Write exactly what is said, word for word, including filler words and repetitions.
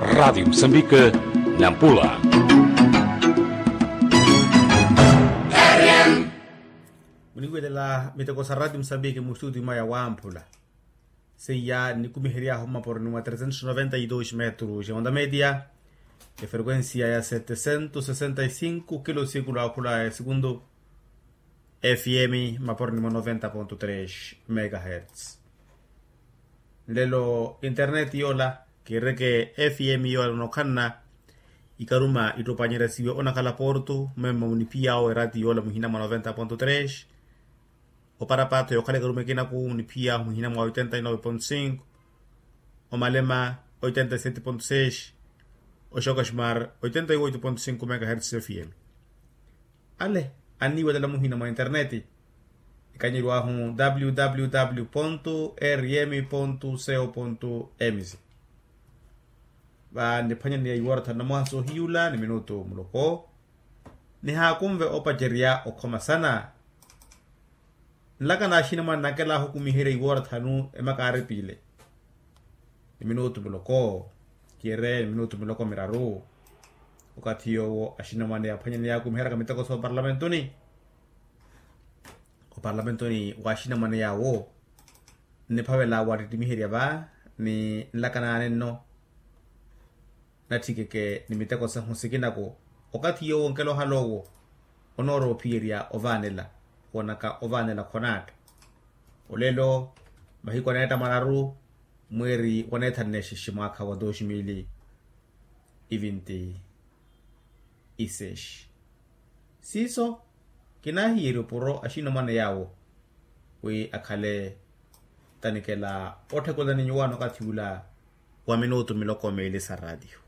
Ratio musambike, nampula. Muniwelela miteko sa ratio musambike mu studio maya wamphula. Seiya nnikumihery'ahu mmaporoni mwa tresentos noventa y dos metros ya onda media, ya frequencia ya setesento sesenta y cinco kilo sikulu akhula ya sekundu. F M mmaporoni mwa noventa ponto tres megahertz. Nlelo internet yoola kiireke F M yoola nookhanna ikaruma ittopanyeryasiwe onakhala porto mmemma muniphiy'awo erati yoola muhina mwa noventa ponto tres. Oparapaatho yookhala ikaruma ekinaku muniphiy'ahu muhina mwa oitenta y nove ponto cinco, omalema oitenta y sete ponto seis, oxokosmar oitenta y oito ponto cinco megahertz F M. Ale anniiwelela muhina mwa interneti. Ekanyeriwahu www rm co mz. Va niphwanyaniya iwora thanu na mwaha soohiyula ni minutu muloko. Nihaakunve opacerya okhoma sana. Nlaka na axinamwane nakelahu okumiherya iwora thanu emaka aaripile ni minutu miloko, kire ni minutu miloko miraru. Okathi yoowo axinamwane aphwanyaniya akumiheryaka miteko sa oparlamentoni. Oparlamentoni wa axinamwane yaawo nniphavela wattittimiherya va ni nlaka naane nno. Natthikeke ni miteko sahu sikinaku. Okathi yoowo onkela ohala owo onoorowa ophiyerya ovaanela. Woonaka ovaanela khonaatta. Olelo mahiku aneetta mararu mweeri wa neethanu nexexe mwaakha wa dos mil e vinte e seis. Siiso kinaahiyerya opuro axinamwane yaawo wi akhale tanikela otthekelani nyuwaani okathi ula wa minutu miloko meeli sa raatiyo.